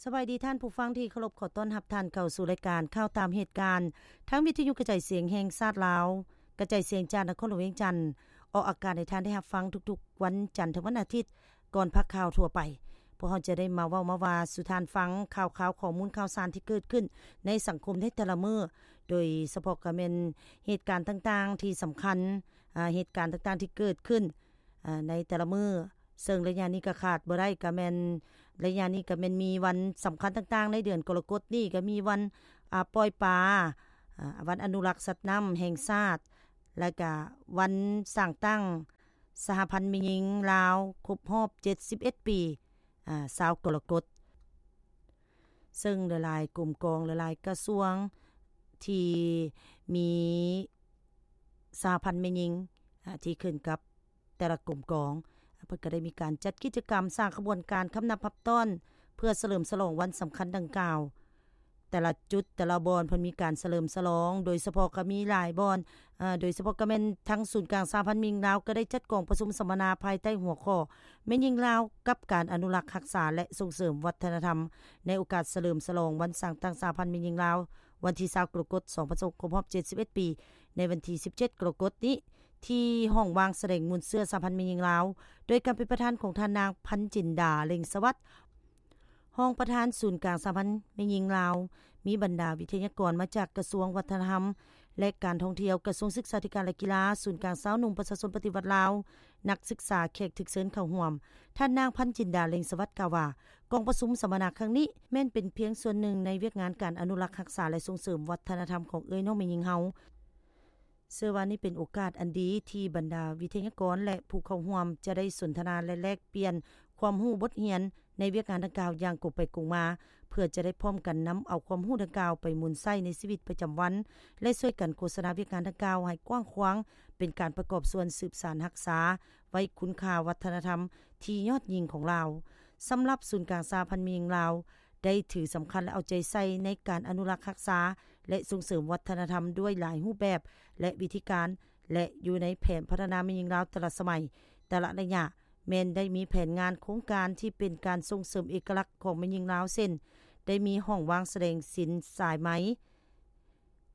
ສະບາຍດີທ່ານຜູ້ຟັງທີ່ເຄົາລົບ, ຂໍຕ້ອນຮັບທ່ານເຂົ້າສູ່ລາຍການຂ່າວຕາມເຫດການ ທາງວິທະຍຸກະຈາຍສຽງແຫ່ງຊາດລາວ, ກະຈາຍສຽງຈາກນະຄອນຫຼວງວຽງຈັນ, ອອກອາກາດໃຫ້ທ່ານໄດ້ຮັບຟັງທຸກໆວັນຈັນເຖິງວັນອາທິດ ກ່ອນພາກຂ່າວທົ່ວໄປ. ພວກເຮົາຈະໄດ້ມາເວົ້າມາວ່າສູ່ທ່ານຟັງຂ່າວຄາວ, ຂໍ້ມູນຂ່າວສານທີ່ເກີດຂຶ້ນໃນສັງຄົມໃນແຕ່ລະມື້, ໂດຍສະເພາະກໍແມ່ນເຫດການຕ່າງໆທີ່ສຳຄັນ, ອາ, ເຫດການຕ່າງໆທີ່ເກີດຂຶ້ນ, ອາ, ໃນແຕ່ລະມື້. ເຊິ່ງໄລຍະນີ້ກໍຂາດບໍ່ໄດ້ ກໍແມ່ນ ໄລຍະນີ້ກໍແມ່ນມີວັນສຳຄັນຕ່າງໆໃນເດືອນກໍລະກົດນີ້ ກໍມີວັນ ອາ ປ່ອຍປາ, ອາ ວັນອະນຸລັກສັດນ້ຳແຫ່ງຊາດ ແລະກະວັນສ້າງຕັ້ງສະຫະພັນແມ່ຍິງລາວຄົບຮອບເຈັດສິບເອັດປີ, ອາ ຊາວກໍລະກົດ. ເຊິ່ງຫຼາຍໆກົມກອງ, ຫຼາຍໆກະຊວງທີ່ມີສະຫະພັນແມ່ຍິງ, ອາ ທີ່ຂຶ້ນກັບ ແຕ່ລະກົມກອງ, ເພິ່ນກໍໄດ້ມີການຈັດກິດຈະກຳສ້າງຂະບວນການຄຳນັບຮັບຕ້ອນ ເພື່ອສະເຫຼີມສະຫຼອງວັນສຳຄັນດັ່ງກ່າວ. ແຕ່ລະຈຸດ, ແຕ່ລະບ່ອນເພິ່ນມີການສະເຫຼີມສະຫຼອງ, ໂດຍສະເພາະກໍມີຫຼາຍບ່ອນ, ເອີ, ໂດຍສະເພາະກໍແມ່ນທາງສູນກາງສະຫະພັນແມ່ຍິງລາວ ກໍໄດ້ຈັດກອງປະຊຸມສຳມະນາພາຍໃຕ້ຫົວຂໍ້ ແມ່ຍິງລາວກັບການອະນຸລັກຮັກສາ ແລະ ສົ່ງເສີມວັດທະນະທຳ ໃນໂອກາດສະເຫຼີມສະຫຼອງວັນສ້າງຕັ້ງສະຫະພັນແມ່ຍິງລາວ ວັນທີຊາວ ກໍລະກົດ ສອງພັນຊາວ ຄົບຮອບເຈັດສິບເອັດປີ ໃນວັນທີສິບເຈັດ ກໍລະກົດນີ້ ທີ່ຫ້ອງວາງສະແດງມູນເຊື້ອສະຫະພັນແມ່ຍິງລາວ ໂດຍການເປັນປະທານຂອງທ່ານນາງ ພັນຈິນດາ ເລັງສະຫວັດ ຮອງປະທານສູນກາງສະຫະພັນແມ່ຍິງລາວ, ມີບັນດາວິທະຍາກອນມາຈາກກະຊວງວັດທະນະທຳ ແລະ ການທ່ອງທ່ຽວ, ກະຊວງສຶກສາທິການ ແລະ ກິລາ, ສູນກາງຊາວໜຸ່ມປະຊາຊົນປະຕິວັດລາວ, ນັກສຶກສາ, ແຂກຖືກເຊີນເຂົ້າຮ່ວມ. ທ່ານນາງ ພັນຈິນດາ ເລັງສະຫວັດ ກ່າວວ່າ ກອງປະຊຸມສຳມະນາຄັ້ງນີ້ ແມ່ນເປັນພຽງສ່ວນໜຶ່ງໃນວຽກງານການອະນຸລັກຮັກສາ ແລະ ສົ່ງເສີມວັດທະນະທຳຂອງເອື້ອຍນ້ອງແມ່ຍິງເຮົາ. ເຊື່ອວ່ານີ້ເປັນໂອກາດອັນດີທີ່ບັນດາວິທະຍາກອນ ແລະ ຜູ້ເຂົ້າຮ່ວມຈະໄດ້ສົນທະນາ ແລະ ແລກປ່ຽນຄວາມຮູ້ບົດຮຽນໃນວຽກງານດັ່ງກ່າວຢ່າງກົງໄປກົງມາ, ເພື່ອຈະໄດ້ພ້ອມກັນນຳເອົາຄວາມຮູ້ດັ່ງກ່າວໄປໝູນໃຊ້ໃນຊີວິດປະຈຳວັນ ແລະ ຊ່ວຍກັນໂຄສະນາວຽກງານດັ່ງກ່າວໃຫ້ກວ້າງຂວາງ, ເປັນການປະກອບສ່ວນສືບສານຮັກສາໄວ້ຄຸນຄ່າວັດທະນະທຳທີ່ຍອດຍິ່ງຂອງລາວ. ສຳລັບສູນກາງສະຫະພັນແມ່ຍິງລາວ ໄດ້ຖືສຳຄັນ ແລະ ເອົາໃຈໃສ່ໃນການອະນຸລັກຮັກສາ ແລະ ສົ່ງເສີມວັດທະນະທຳດ້ວຍຫຼາຍຮູບແບບ ແລະ ວິທີການ ແລະ ຢູ່ໃນແຜນພັດທະນາແມ່ຍິງລາວແຕ່ລະສະໄໝ, ແຕ່ລະໄລຍະ ແມ່ນໄດ້ມີແຜນງານໂຄງການທີ່ເປັນການສົ່ງເສີມເອກະລັກຂອງແມ່ຍິງລາວ ເຊັ່ນ ໄດ້ມີຫ້ອງວາງສະແດງສິນສາຍໄໝ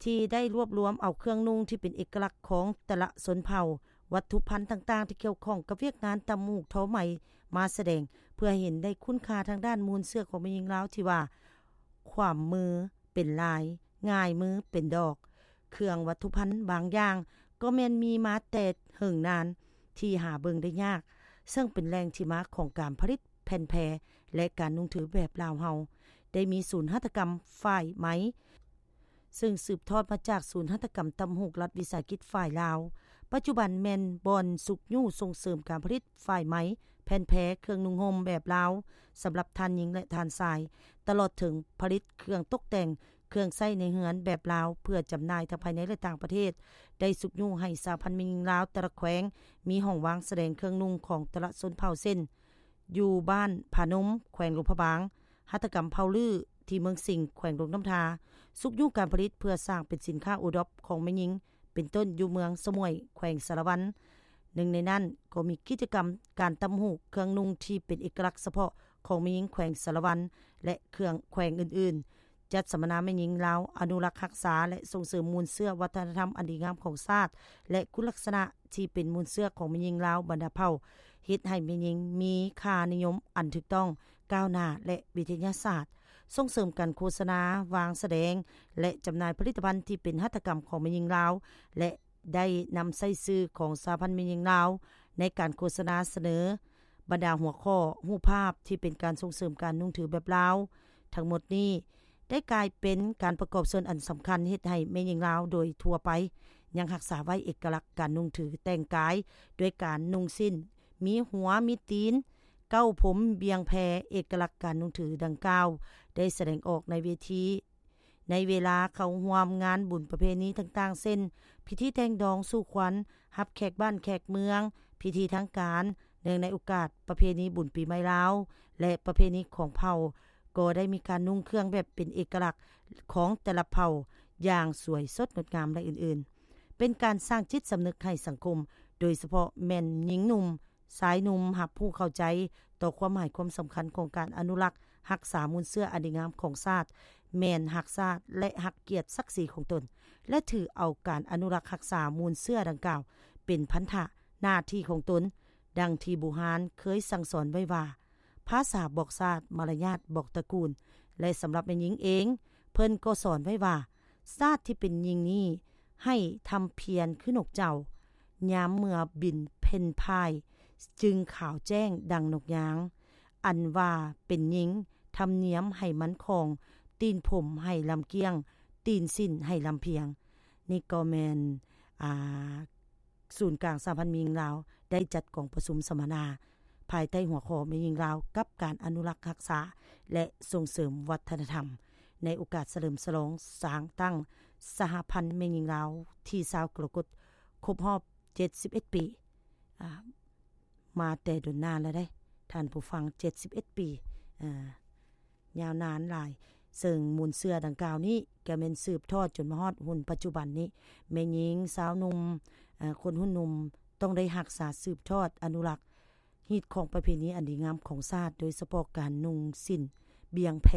ທີ່ໄດ້ລວບລວມເອົາເຄື່ອງນຸ່ງທີ່ເປັນເອກະລັກຂອງແຕ່ລະຊົນເຜົ່າ, ວັດຖຸພັນຕ່າງໆທີ່ກ່ຽວຂ້ອງກັບວຽກງານຕ່ຳຫູກທໍໄໝມາສະແດງ, ເພື່ອໃຫ້ເຫັນໄດ້ຄຸນຄ່າທາງດ້ານມູນເຊື້ອຂອງແມ່ຍິງລາວທີ່ວ່າ ຂວາມມືເປັນລາຍ, ງ່າຍມືເປັນດອກ. ເຄື່ອງວັດຖຸພັນບາງຢ່າງກໍແມ່ນມີມາແຕ່ເຫິງນານທີ່ຫາເບິ່ງໄດ້ຍາກ, ເຊິ່ງເປັນແຫຼ່ງທີ່ມາຂອງການຜະລິດແຜ່ນແພ ແລະ ການນຸ່ງຖືແບບລາວເຮົາ. ໄດ້ມີສູນຫັດຖະກຳຝ້າຍໄໝ ເຊິ່ງສືບທອດມາຈາກສູນຫັດຖະກຳຕ່ຳຫູກລັດວິສາຫະກິດຝ້າຍລາວ, ປັດຈຸບັນແມ່ນບ່ອນຊຸກຍູ້ສົ່ງເສີມການຜະລິດຝ້າຍໄໝ, ແຜ່ນແພ, ເຄື່ອງນຸ່ງຫົ່ມແບບລາວ ສຳລັບທ່ານຍິງ ແລະ ທ່ານຊາຍ, ຕະຫຼອດເຖິງຜະລິດເຄື່ອງຕົກແຕ່ງ, ເຄື່ອງໃຊ້ໃນເຮືອນແບບລາວ ເພື່ອຈຳໜ່າຍທັງພາຍໃນ ແລະ ຕ່າງປະເທດ. ໄດ້ຊຸກຍູ້ໃຫ້ສະຫະພັນແມ່ຍິງລາວແຕ່ລະແຂວງ ມີຫ້ອງວາງສະແດງເຄື່ອງນຸ່ງຂອງແຕ່ລະຊົນເຜົ່າ ເຊັ່ນ ຢູ່ບ້ານຜານົມ ແຂວງຫຼວງພະບາງ, ຫັດຖະກຳເຜົ່າລື້ ທີ່ເມືອງສິງ ແຂວງຫຼວງນ້ຳທາ, ຊຸກຍູ້ການຜະລິດເພື່ອສ້າງເປັນສິນຄ້າໂອດອບຂອງແມ່ຍິງ ເປັນຕົ້ນຢູ່ເມືອງສະໝວຍ ແຂວງສາລະວັນ. ໜຶ່ງໃນນັ້ນກໍມີກິດຈະກຳການຕ່ຳຫູກເຄື່ອງນຸ່ງທີ່ເປັນເອກະລັກສະເພາະຂອງແມ່ຍິງແຂວງສາລະວັນ ແລະ ເຄື່ອງແຂວງອື່ນໆ, ຈັດສຳມະນາແມ່ຍິງລາວອະນຸລັກຮັກສາ ແລະ ສົ່ງເສີມມູນເຊື້ອວັດທະນະທຳອັນດີງາມຂອງຊາດ ແລະ ຄຸນລັກສະນະ ທີ່ເປັນມູນເຊື້ອຂອງແມ່ຍິງລາວບັນດາເຜົ່າ, ເຮັດໃຫ້ແມ່ຍິງມີຄ່ານິຍົມອັນຖືກຕ້ອງ, ກ້າວໜ້າ ແລະ ວິທະຍາສາດ, ສົ່ງເສີມການໂຄສະນາ, ວາງສະແດງ ແລະ ຈຳໜ່າຍຜະລິດຕະພັນທີ່ເປັນຫັດຖະກຳຂອງແມ່ຍິງລາວ ແລະ ໄດ້ນຳໃຊ້ຊື່ຂອງສະຫະພັນແມ່ຍິງລາວ ໃນການໂຄສະນາສະເໜີບັນດາຫົວຂໍ້, ຮູບພາບທີ່ເປັນການສົ່ງເສີມການນຸ່ງຖືແບບລາວ. ທັງໝົດນີ້ ໄດ້ກາຍເປັນການປະກອບສ່ວນອັນສຳຄັນ ເຮັດໃຫ້ແມ່ຍິງລາວໂດຍທົ່ວໄປ ຍັງຮັກສາໄວ້ເອກະລັກການນຸ່ງຖືແຕ່ງກາຍ ດ້ວຍການນຸ່ງສິ້ນ ມີຫົວ ມີຕີນ, ເກົ້າຜົມ, ບ່ຽງແພ. ເອກະລັກການນຸ່ງຖືດັ່ງກ່າວ ໄດ້ສະແດງອອກໃນເວທີ ໃນເວລາເຂົ້າຮ່ວມງານບຸນປະເພນີຕ່າງໆ ເຊັ່ນ ພິທີແຕ່ງດອງສູ່ຂວັນ, ຮັບແຂກບ້ານແຂກເມືອງ, ພິທີທາງການ, ເນື່ອງໃນໂອກາດປະເພນີບຸນປີໃໝ່ລາວ ແລະ ປະເພນີຂອງເຜົ່າ ກໍໄດ້ມີການນຸ່ງເຄື່ອງແບບເປັນເອກະລັກຂອງແຕ່ລະເຜົ່າຢ່າງສວຍສົດງົດງາມ ແລະ ອື່ນໆ. ເປັນການສ້າງຈິດສຳນຶກໃຫ້ສັງຄົມ, ໂດຍສະເພາະແມ່ນຍິງໜຸ່ມ ຊາຍໜຸ່ມຮັບຮູ້ເຂົ້າໃຈຕໍ່ຄວາມໝາຍຄວາມສຳຄັນຂອງການອະນຸລັກຮັກສາມູນເຊື້ອອັນດີງາມຂອງຊາດ, ແມ່ນຮັກຊາດ ແລະ ຮັກກຽດສັກສີຂອງຕົນ ແລະ ຖືເອົາການອະນຸລັກຮັກສາມູນເຊື້ອດັ່ງກ່າວເປັນພັນທະໜ້າທີ່ຂອງຕົນ, ດັ່ງທີ່ບູຮານເຄີຍສັ່ງສອນໄວ້ວ່າ, ພາສາບອກຊາດ, ມາລະຍາດບອກຕະກູນ ແລະ ສຳລັບແມ່ຍິງເອງ, ເພິ່ນກໍສອນໄວ້ວ່າ, ຊາດທີ່ເປັນຍິງນີ້ໃຫ້ທຳພຽນຄືນົກເຈົ້າ, ຍາມເມື່ອບິນເພັ່ນພາຍ ຈຶ່ງຂາວແຈ້ງດັ່ງນົກຍາງ. ອັນວ່າເປັນຍິງ, ທຳນຽມໃຫ້ມັນຄອງ, ຕີນຜົມໃຫ້ລຳກ້ຽງ, ຕີນສິ້ນໃຫ້ລຳພຽງ. ນີ້ກໍແມ່ນ, ອ່າ, ສູນກາງສະຫະພັນແມ່ຍິງລາວ ໄດ້ຈັດກອງປະຊຸມສຳມະນາ ພາຍໃຕ້ຫົວຂໍ້ແມ່ຍິງລາວກັບການອະນຸລັກຮັກສາ ແລະ ສົ່ງເສີມວັດທະນະທຳ ໃນໂອກາດສະເຫຼີມສະຫຼອງສ້າງຕັ້ງສະຫະພັນແມ່ຍິງລາວ ທີຊາວ ກໍລະກົດ ຄົບຮອບເຈັດສິບເອັດປີ. ອາ ມາແຕ່ດົນນານແລ້ວເດ້ທ່ານຜູ້ຟັງ, ເຈັດສິບເອັດປີ, ອາ ຍາວນານຫຼາຍ, ເຊິ່ງມູນເຊື້ອດັ່ງກ່າວນີ້ກໍແມ່ນສືບທອດຈົນມາຮອດຮຸ່ນປັດຈຸບັນນີ້, ແມ່ຍິງ, ຊາວໜຸ່ມ, ອາ ຄົນຮຸ່ນໜຸ່ມຕ້ອງໄດ້ຮັກສາສືບທອດອະນຸລັກຮີດຄອງປະເພນີອັນດີງາມຂອງຊາດ, ໂດຍສະເພາະການນຸ່ງສິ້ນບຽງແພ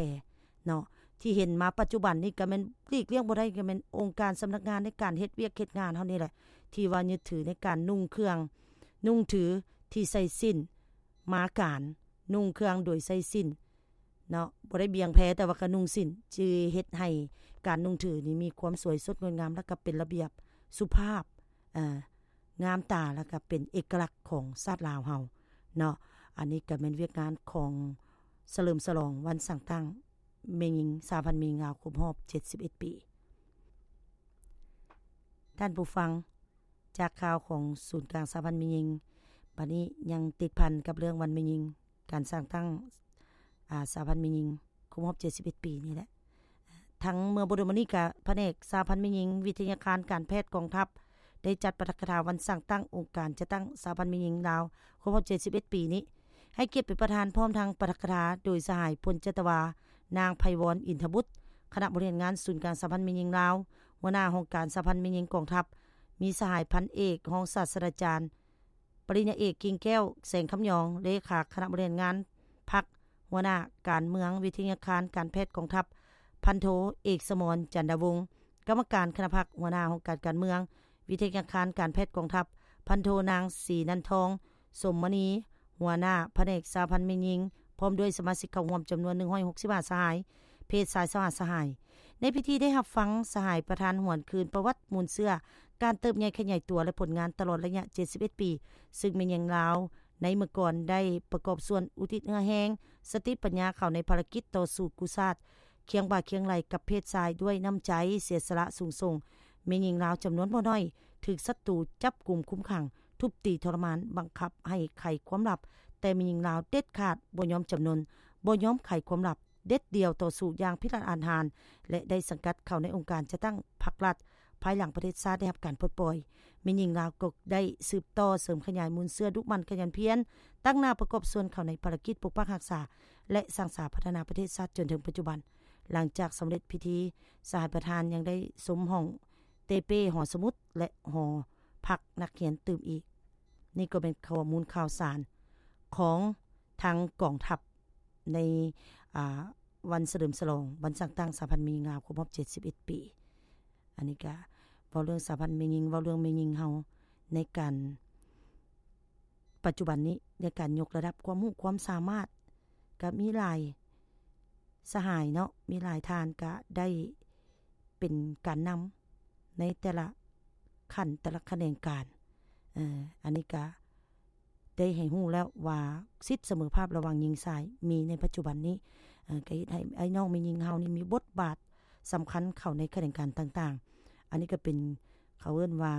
ເນາະ, ທີ່ເຫັນມາປັດຈຸບັນນີ້ກໍແມ່ນຫຼີກລ່ຽງບໍ່ໄດ້, ກໍແມ່ນອົງການສຳນັກງານໃນການເຮັດວຽກເຮັດງານເຮົານີ້ແຫຼະ ທີ່ວ່າຍຶດຖືໃນການນຸ່ງເຄື່ອງນຸ່ງຖືທີ່ໃສ່ສິ້ນ ມາການນຸ່ງເຄື່ອງໂດຍໃສ່ສິ້ນເນາະ, ບໍ່ໄດ້ບຽງແພ ແຕ່ວ່າກະນຸ່ງສິ້ນ ຈຶ່ງເຮັດໃຫ້ການນຸ່ງຖືນີ້ມີຄວາມສວຍສົດງົດງາມ ແລະກະເປັນລະບຽບສຸພາບ, ເອີ, ງາມຕາ ແລະກະເປັນເອກະລັກຂອງຊາດລາວເຮົາເນາະ. ອັນນີ້ກະແມ່ນວຽກງານຂອງສະເຫຼີມສະຫຼອງວັນສ້າງຕັ້ງແມ່ຍິງ, ສະຫະພັນແມ່ຍິງລາວຄົບຮອບເຈັດສິບເອັດປີ. ທ່ານຜູ້ຟັງ, ຈາກຂ່າວຂອງສູນກາງສະຫະພັນແມ່ຍິງ, ບາດນີ້ຍັງຕິດພັນກັບເລື່ອງວັນແມ່ຍິງ, ການສ້າງຕັ້ງ, ອາ, ສະຫະພັນແມ່ຍິງຄົບຮອບເຈັດສິບເອັດປີນີ້ແຫຼະ. ທັງເມື່ອບໍ່ດົນມານີ້ກະພະແນກສະຫະພັນແມ່ຍິງ, ວິທະຍາຄານການແພດກອງທັບ ໄດ້ຈັດປາຖະກະຖາວັນສ້າງຕັ້ງອົງການຈັດຕັ້ງສະຫະພັນແມ່ຍິງລາວຄົບຮອບເຈັດສິບເອັດປີນີ້ ໃຫ້ກຽດເປັນປະທານ ພ້ອມທັງປາຖະກະຖາໂດຍສະຫາຍ ພົນຈັດຕະວາ ນາງ ໄພວອນ ອິນທະບຸດ, ຄະນະບໍລິຫານງານສູນກາງສະຫະພັນແມ່ຍິງລາວ, ຫົວໜ້າຫ້ອງການສະຫະພັນແມ່ຍິງກອງທັບ, ມີສະຫາຍພັນເອກ ຮອງສາດສະດາຈານ ປະລິນຍາເອກ ກິ່ງແກ້ວ ແສງຄຳຍອງ, ເລຂາຄະນະບໍລິຫານງານພັກ, ຫົວໜ້າການເມືອງ, ວິທະຍາຄານການແພດກອງທັບ ພັນໂທ ເອກສະໝອນ ຈັນດາວົງ, ກຳມະການຄະນະພັກ, ຫົວໜ້າຫ້ອງການການເມືອງ, ວິທະຍາຄານການແພດກອງທັບ ພັນໂທ ນາງ ສີນັນທອງ ສົມມະນີ, ຫົວໜ້າພະແນກສະຫະພັນແມ່ຍິງ, ພ້ອມດ້ວຍສະມາຊິກເຂົ້າຮ່ວມຈຳນວນໜຶ່ງຮ້ອຍຫົກສິບຫ້າສະຫາຍ, ເພດຊາຍຊາວຫ້າສະຫາຍ. ໃນພິທີໄດ້ຮັບຟັງສະຫາຍປະທານຫວນຄືນປະຫວັດມູນເຊື້ອການເຕີບໃຫຍ່ຂະຫຍາຍຕົວ ແລະ ຜົນງານຕະຫຼອດໄລຍະເຈັດສິບເອັດປີ, ຊຶ່ງແມ່ຍິງລາວໃນເມື່ອກ່ອນໄດ້ປະກອບສ່ວນອຸທິດເຫື່ອແຮງ, ສະຕິປັນຍາເຂົ້າໃນພາລະກິດຕໍ່ສູ້ກູ້ຊາດ ຄຽງບ່າຄຽງໄຫຼ່ກັບເພດຊາຍດ້ວຍນ້ຳໃຈເສຍສະຫຼະສູງສົ່ງ. ແມ່ຍິງລາວຈຳນວນບໍ່ໜ້ອຍຖືກສັດຕູຈັບກຸມຄຸມຂັງ, ທຸບຕີທໍລະມານ, ບັງຄັບໃຫ້ໄຂຄວາມລັບ, ແຕ່ແມ່ຍິງລາວເດັດຂາດບໍ່ຍອມຈຳນົນ, ບໍ່ຍອມໄຂຄວາມລັບເດັດດ່ຽວ, ຕໍ່ສູ້ຢ່າງພິລັນອາດຫານ ແລະ ໄດ້ສັງກັດເຂົ້າໃນອົງການຈັດຕັ້ງພັກລັດ ພາຍຫຼັງປະເທດຊາດໄດ້ຮັບການປົດປ່ອຍ. ແມ່ຍິງລາວກໍໄດ້ສືບຕໍ່ເສີມຂະຫຍາຍມູນເຊື້ອ, ດຸໝັ່ນຂະຫຍັນພຽນ, ຕັ້ງໜ້າປະກອບສ່ວນເຂົ້າໃນພາລະກິດປົກປັກຮັກສາ ແລະ ສ້າງສາພັດທະນາປະເທດຊາດຈົນເຖິງປັດຈຸບັນ. ຫຼັງຈາກສຳເລັດພິທີ, ສະຫາຍປະທານຍັງໄດ້ຊົມຫ້ອງເຕເປ້, ຫໍສະໝຸດ ແລະ ຫໍພັກນັກຮຽນຕື່ມອີກ. ນີ້ກໍເປັນຂໍ້ມູນຂ່າວສານຂອງທາງກອງທັບໃນ, ອາ, ວັນສະເຫຼີມສະຫຼອງວັນສ້າງຕັ້ງສະຫະພັນແມ່ຍິງລາວຄົບຮອບເຈັດສິບເອັດປີ. ອັນນີ້ກະເວົ້າເລື່ອງສະຫະພັນແມ່ຍິງ, ເວົ້າເລື່ອງແມ່ຍິງເຮົາໃນການ ປັດຈຸບັນນີ້ ໃນການຍົກລະດັບຄວາມຮູ້ຄວາມສາມາດ ກະມີຫຼາຍສະຫາຍເນາະ, ມີຫຼາຍທ່ານກະໄດ້ເປັນການນຳໃນແຕ່ລະຂັ້ນ ແຕ່ລະຂະແໜງການ. ເອີ ອັນນີ້ກະໄດ້ໃຫ້ຮູ້ແລ້ວວ່າສິດສະເໝີພາບລະຫວ່າງຍິງຊາຍມີໃນປັດຈຸບັນນີ້, ເອີ ກະເຮັດໃຫ້ອ້າຍນ້ອງແມ່ຍິງເຮົານີ້ມີບົດບາດສຳຄັນເຂົ້າໃນຂະແໜງການຕ່າງໆ. ອັນນີ້ກະເປັນ ເຂົາເອີ້ນວ່າ